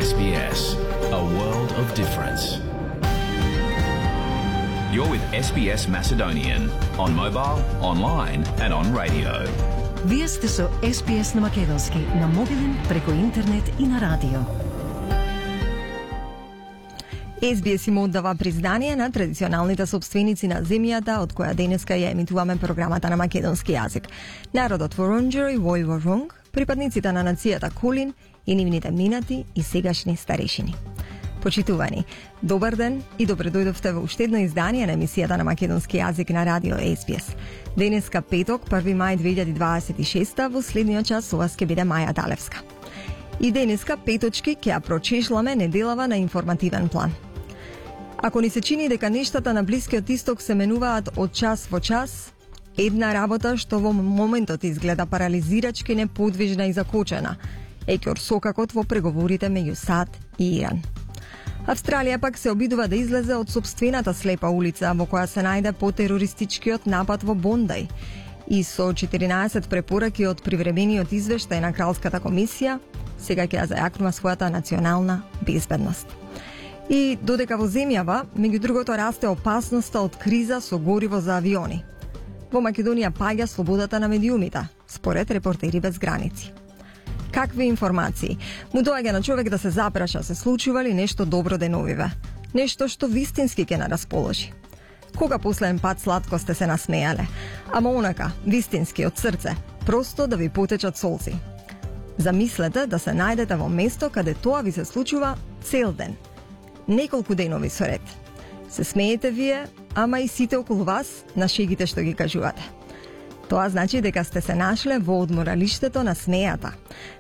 SBS, a world of difference. You're with SBS Macedonian on mobile, online and on radio. Вие сте со SBS на македонски, на мобилен, преку интернет и на радио. SBS им оддава признание на традиционалните собственици на земјата од која денеска ја емитуваме програмата на македонски јазик. Народот Воронџер и Војворонг, припадниците на нацијата Кулин и нивните минати и сегашни старешини. Почитувани, добар ден и добре дојдовте во уште едно издание на емисијата на македонски јазик на радио SBS. Денеска петок, 1 мај 2026, во следниот час со вас ќе биде Маја Далевска. И денеска петочки ќе ја прочешламе неделава на информативен план. Ако ни се чини дека нештата на Блискиот Исток се менуваат од час во час, една работа што во моментот изгледа парализирачки, неподвижна и закочена е ќорсокакот во преговорите меѓу САД и Иран. Австралија пак се обидува да излезе од сопствената слепа улица во која се најде по терористичкиот напад во Бондај и со 14 препораки од привремениот извештај на Кралската комисија, сега ќе ја зајакнува својата национална безбедност. И додека во земјава, меѓу другото, расте опасноста од криза со гориво за авиони. Во Македонија паѓа слободата на медиумите, според Репортери без граници. Какви информации? Му доаѓа на човек да се запраша се случува ли нешто добро деновиве? Нешто што вистински ќе нарасположи. Кога последен пат сладко сте се насмејале? Ама онака, вистински, од срце, просто да ви потечат солци. Замислете да се најдете во место каде тоа ви се случува цел ден. Неколку денови со ред. Се смеете вие, ама и сите околу вас на шегите што ги кажувате. Тоа значи дека сте се нашле во одморалиштето на смејата,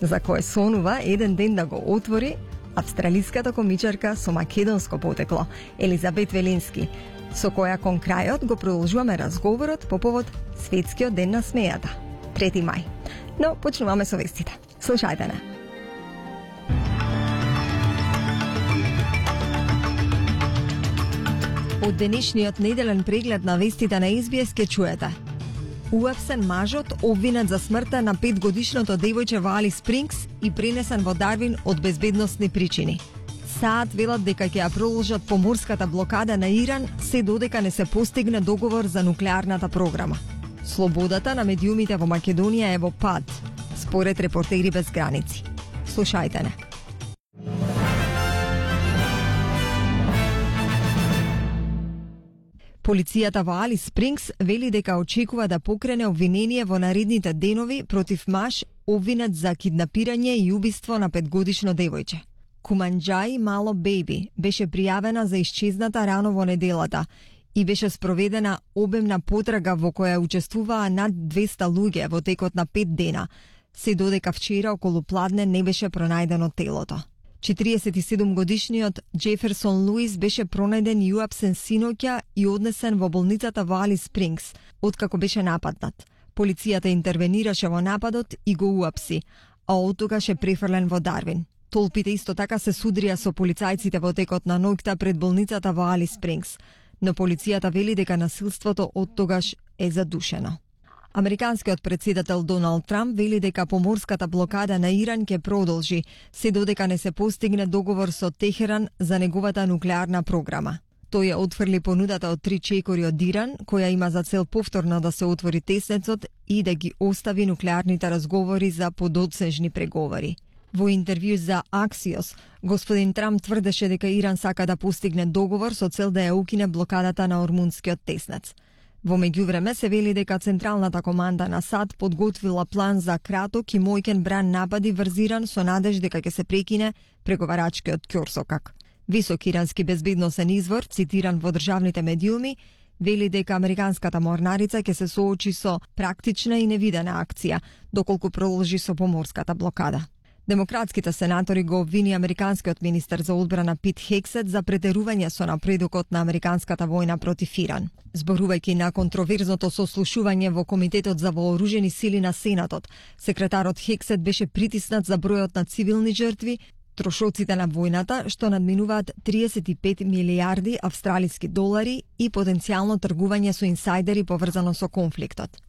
за кое сонува еден ден да го отвори австралиската комичарка со македонско потекло, Елизабет Велински, со која кон крајот го продолжуваме разговорот по повод Светскиот ден на смејата, 3 мај. Но почнуваме со вестите. Слушајте не. Од денешниот неделен преглед на вестите на SBS ке чуете. Уапсен мажот обвинет за смртта на 5-годишното девојче во Алис Спрингс и пренесен во Дарвин од безбедносни причини. САД велат дека ќе ја продолжат поморската блокада на Иран се додека не се постигне договор за нуклеарната програма. Слободата на медиумите во Македонија е во пад, според Репортери без граници. Слушајте не. Полицијата во Алис Спрингс вели дека очекува да покрене обвинение во наредните денови против маж обвинет за киднапирање и убиство на 5-годишно девојче. Куманџаи Мало Бејби беше пријавена за исчезната рано во неделата и беше спроведена обемна потрага во која учествуваа над 200 луѓе во текот на 5 дена, се додека вчера околу пладне не беше пронајдено телото. 47-годишниот Джеферсон Луис беше пронајден и уапсен синоќа и однесен во болницата во Алис Спрингс, откако беше нападнат. Полицијата интервенираше во нападот и го уапси, а оттогаш е префрлен во Дарвин. Толпите исто така се судрија со полицајците во текот на ноќта пред болницата во Алис Спрингс, но полицијата вели дека насилството оттогаш е задушено. Американскиот председател Доналд Трамп вели дека поморската блокада на Иран ќе продолжи, се додека не се постигне договор со Техеран за неговата нуклеарна програма. Тој ја отфрли понудата од 3 чекори од Иран, која има за цел повторно да се отвори теснецот и да ги остави нуклеарните разговори за подоцнежни преговори. Во интервју за Axios, господин Трамп тврдеше дека Иран сака да постигне договор со цел да ја укине блокадата на Ормунскиот теснец. Во меѓувреме се вели дека Централната команда на САД подготвила план за краток и мојкен бран напади врз Иран со надеж дека ќе се прекине преговарачкиот ќорсокак. Висок ирански безбедносен извор, цитиран во државните медиуми, вели дека американската морнарица ќе се соочи со практична и невидена акција, доколку продолжи со поморската блокада. Демократските сенатори го обвини американскиот министер за одбрана Пит Хексет за претерување со напредокот на американската војна против Иран. Зборувајќи на контроверзното сослушување во Комитетот за вооружени сили на Сенатот, секретарот Хексет беше притиснат за бројот на цивилни жртви, трошоците на војната, што надминуваат 35 милијарди австралиски долари и потенцијално тргување со инсайдери поврзано со конфликтот.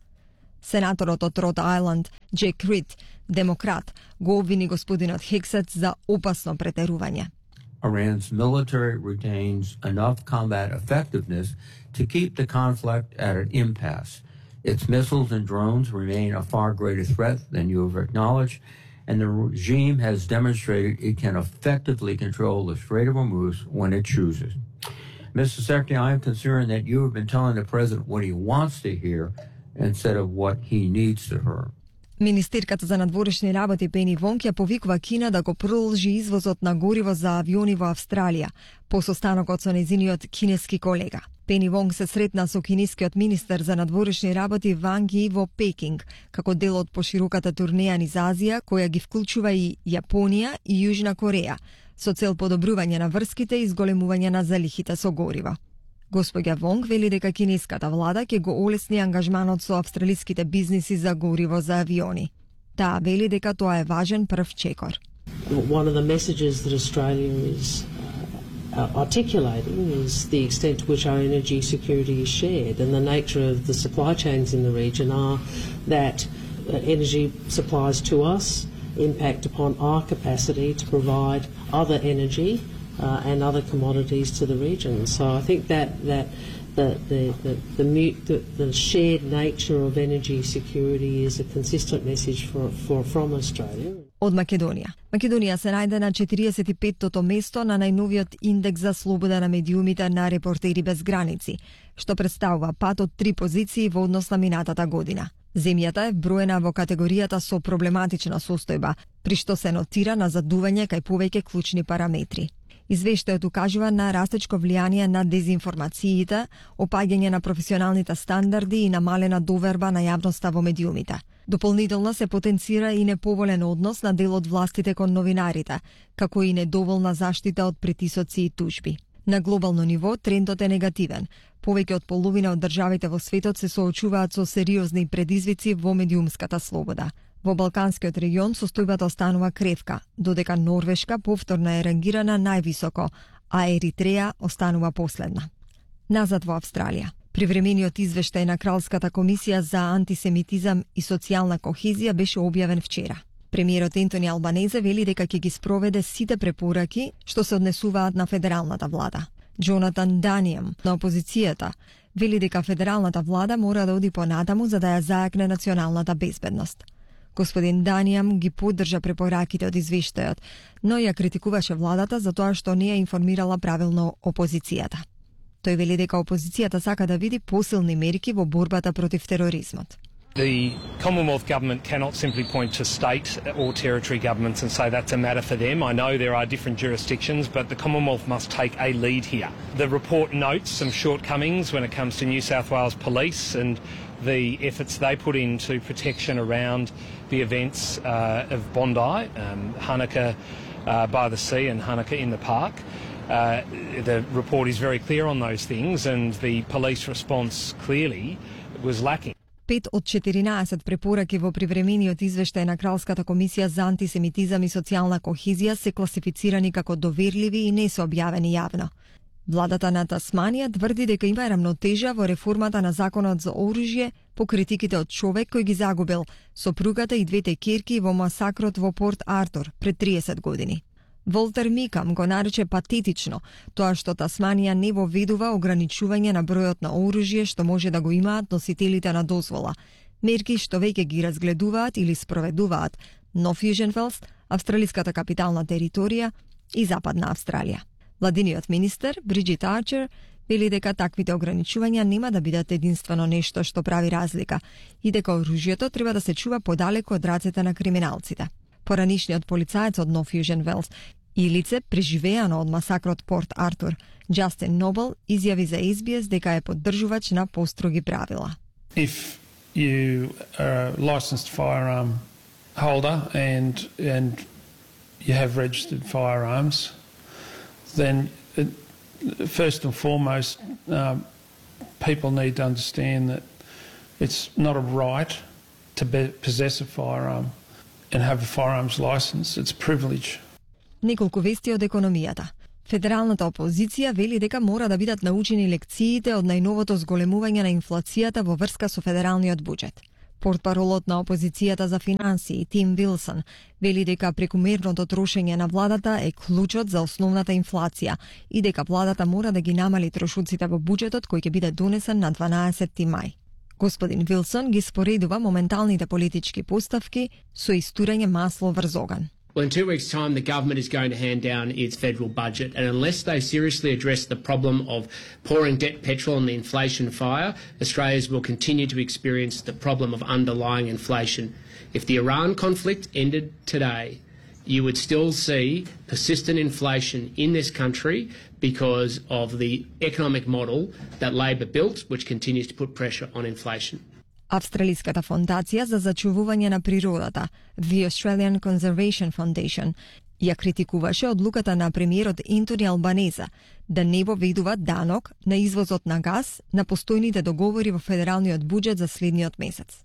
Сенаторот од Род Ајланд, Джек Рид, демократ, го обвини господинот Хексет за опасно претерување. Iran's military retains enough combat effectiveness to keep the conflict at an impasse. Its missiles and drones remain a far greater threat than you have acknowledged, and the regime has demonstrated it can effectively control the Strait of Hormuz when it chooses. Mr. Secretary, I am concerned that you have been telling the President what he wants to hear instead of what he needs to hear. Министерката за надворешни работи Пени Вонг ја повикува Кина да го продолжи извозот на гориво за авиони во Австралија, по состанокот со нејзиниот кинески колега. Пени Вонг се сретна со кинескиот министер за надворешни работи Ванг Ји во Пекинг, како дел од пошироката турнеја низ Азија, која ги вклучува и Јапонија и Јужна Кореја, со цел подобрување на врските и зголемување на залихите со гориво. Господја Вонг вели дека кинеската влада ќе го олесни ангажманот со австралиските бизниси за гориво за авиони. Таа вели дека тоа е важен прв чекор. One of the messages that Australia is articulating is the extent to which our energy security is shared, and the nature of the supply chains in the region are that energy supplies to us impact upon our capacity to provide other energy and other commodities to the region. So I think that the shared nature of energy security is a consistent message from Australia. Од Македонија. Македонија се најде на 45-тото место на најновиот индекс за слобода на медиумите на Репортери без граници, што представува пат од 3 позиции во однос на минатата година. Земјата е вброена во категоријата со проблематична состојба, при што се нотира на задување кај повеќе клучни параметри. Извештајот укажува на растечко влијание на дезинформациите, опаѓање на професионалните стандарди и намалена доверба на јавноста во медиумите. Дополнително се потенцира и неповолен однос на дел од властите кон новинарите, како и недоволна заштита од притисоци и тужби. На глобално ниво трендот е негативен. Повеќе од половина од државите во светот се соочуваат со сериозни предизвици во медиумската слобода. Во Балканскиот регион состојбата останува кревка, додека Норвешка повторно е рангирана највисоко, а Еритреја останува последна. Назад во Австралија. Привремениот извештај на Кралската комисија за антисемитизам и социјална кохезија беше објавен вчера. Премиерот Ентони Албанезе вели дека ќе ги спроведе сите препораки што се однесуваат на федералната влада. Джонатан Данијам на опозицијата вели дека федералната влада мора да оди понатаму за да ја зајакне националната безбедност. Господин Данијам ги поддржа препораките од извештајот, но ја критикуваше владата за тоа што не ја информирала правилно опозицијата. Тој вели дека опозицијата сака да види посилни мерки во борбата против тероризмот. The Commonwealth Government cannot simply point to state or territory governments and say that's a matter for them. I know there are different jurisdictions, but the Commonwealth must take a lead here. The report notes some shortcomings when it comes to New South Wales Police and the efforts they put into protection around the events of Bondi, Hanukkah by the sea and Hanukkah in the park. The report is very clear on those things, and the police response clearly was lacking. 5 од 14 препораки во привремениот извештај на Кралската комисија за антисемитизам и социјална кохезија се класифицирани како доверливи и не се објавени јавно. Владата на Тасманија тврди дека има рамнотежа во реформата на законот за оружје по критиките од човек кој ги загубил сопругата и двете ќерки во масакрот во Порт Артур пред 30 години. Волтер Микам го нарече патетично тоа што Тасманија не воведува ограничување на бројот на оружје што може да го имаат носителите на дозвола, мерки што веќе ги разгледуваат или спроведуваат Нов Јужен Велс, австралиската капитална територија и Западна Австралија. Владиниот министер Бриджит Арчер вели дека таквите ограничувања нема да бидат единствено нешто што прави разлика и дека оружјето треба да се чува подалеку од рацете на криминалците. Поранишниот полицаец од Нов Јужен Велс и лице преживеано од масакрот Порт Артур, Джастин Нобел, изјави за SBS дека е поддржувач на построги правила. If you are a licensed firearm holder and you have registered firearms, then first and foremost, people need to understand that it's not a right to possess a firearm and have a firearms license. It's a privilege. Неколку вести од економијата. Федералната опозиција вели дека мора да бидат научени лекциите од најновото зголемување на инфлацијата во врска со федералниот буџет. Портпаролот на опозицијата за финансии Тим Вилсон вели дека прекумерното трошење на владата е клучот за основната инфлација и дека владата мора да ги намали трошоците во буџетот кој ќе биде донесен на 12 мај. Господин Вилсон ги споредува моменталните политички поставки со истурење масло врз оган. Well, in 2 weeks' time, the government is going to hand down its federal budget, and unless they seriously address the problem of pouring debt petrol on the inflation fire, Australians will continue to experience the problem of underlying inflation. If the Iran conflict ended today, you would still see persistent inflation in this country because of the economic model that Labor built, which continues to put pressure on inflation. Австралиската фондација за зачувување на природата, The Australian Conservation Foundation, ја критикуваше одлуката на премиерот Ентони Албанеза да не воведува данок на извозот на газ на постојните договори во федералниот буџет за следниот месец.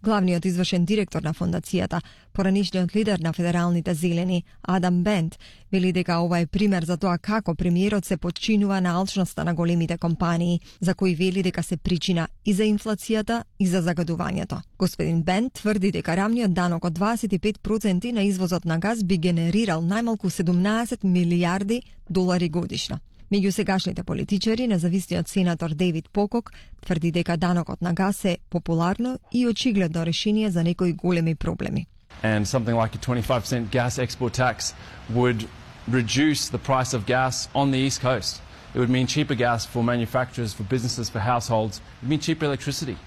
Главниот извршен директор на фондацијата, поранишниот лидер на федералните зелени, Адам Бент, вели дека ова е пример за тоа како премиерот се подчинува на алчноста на големите компании, за кои вели дека се причина и за инфлацијата и за загадувањето. Господин Бент тврди дека рамниот данок од 25% на извозот на газ би генерирал најмалку 17 милијарди долари годишно. Меѓу сегашните политичари, независниот сенатор Дейвид Покок тврди дека данокот на газ е популарно и очигледно решение за некои големи проблеми. And something like a 25% gas export tax would reduce the price of gas on the East Coast. It would mean cheaper gas for manufacturers, for businesses, for households. It would mean cheaper electricity.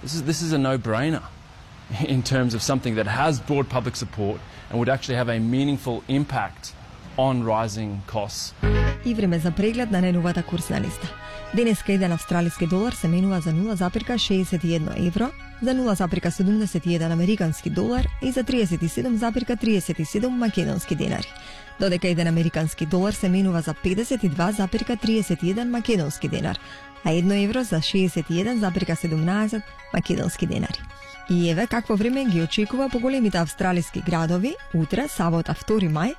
This is a no-brainer in terms of something that has broad public support and would actually have a meaningful impact on rising costs. И време за преглед на најновата курсна листа. Денеска еден австралиски долар се менува за 0,61 евро, за 0,71 американски долар и за 37,37 македонски денари. Додека еден американски долар се менува за 52,31 македонски денар, а 1 евро за 61,17 македонски денари. И еве какво време ги очекува по големите австралиски градови утре, сабота 2 мај,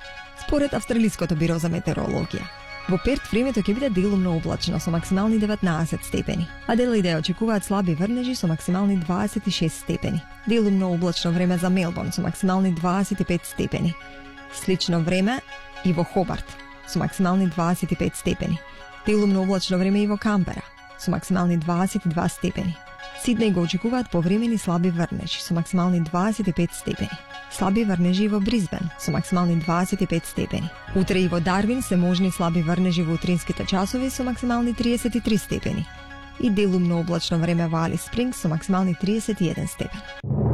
според Австралиското биро за метеорологија. Во Перт времето ќе биде делумно облачно со максимални 19 степени. Аделаида очекуваат слаби врнежи со максимални 26 степени. Делумно облачно време за Мелбурн со максимални 25 степени. Слично време и во Хобарт со максимални 25 степени. Делумно облачно време и во Камбера со максимални 22 степени. Сиднеј го очекуваат повремени слаби врнежи со максимални 25 степени. Слаби врнежи во Бризбен со максимални 25 степени. Утре и во Дарвин се можни слаби врнежи во утринските часови со максимални 33 степени. И делумно облачно време во Алис Спрингс со максимални 31 степени.